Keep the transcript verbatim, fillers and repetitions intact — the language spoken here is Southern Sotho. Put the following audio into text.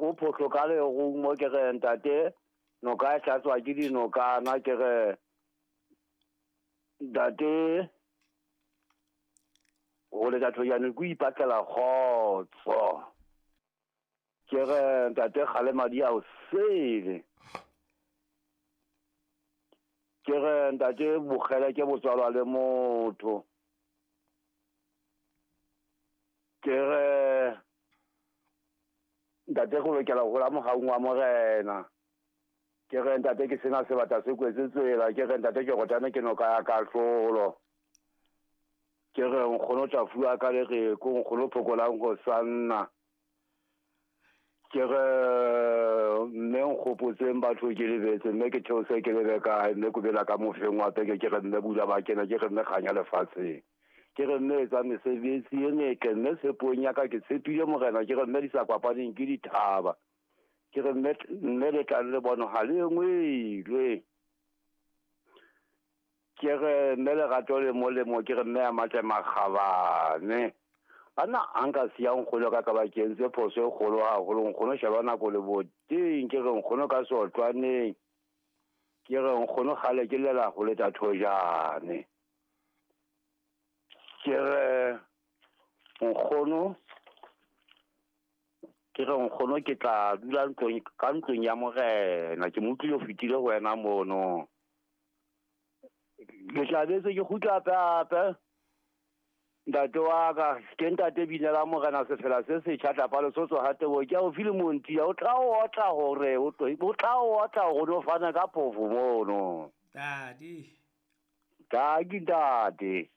Kgogo phohlo ka lerumo ke re ntate noka e hlatswa ke dinokana ke re ntate go letša thojane ke ipatlela kgotso. Ke re ntate kgale madi a o sele. Ke re ntate bogele ke botswalwa le motho. Ke re ntate go lokela go gola mogaung wa morena. Ke re ntate ke sena sebata se kwetse tsela. Ke re ntate ke rotane ke noka ya kahlolo. Ke re nkgono tla fuwa ka lereko nkgono phokolang go sanna. Ke re mme nkgopotseng batho ke lebetse mme ke theose ke lebe kae mme ko bela ka mofeng wa peke ke re mme bula ba kena ke re mme kganya lefatsheng. Ke re mme etsa mesebetsi e metle mme tshepong ya ka ke tshepile morena ke re mme di sa kopaneng ke dithaba. Ke re mme mme le tlang le bono ha le ngwelwe. Ke re mme lerato le molemo ke re mme a matle makgabane. Banna a nka siya nkgono ka ka ba ke entse phoso e kgolo haholo nkgono sheba nako le boteng ke re nkgono ka sotlwaneng. Ke re nkgono kgale ke llela go leta thojane. Ke re nkgono ke re nkgono ke tla dula ntlong ka ntlong ya morena ke mo utlwile o fetile ho wena mono. Ke tla betse ke kgutla hape. Ntate wa ka ke ntate binela morena sefela se setjha tlapa Lesotho ha tebo ke a o file monti o tla o otla hore o tla o otla hore o fana ka phofo mono. Tadi. Tadi ntate.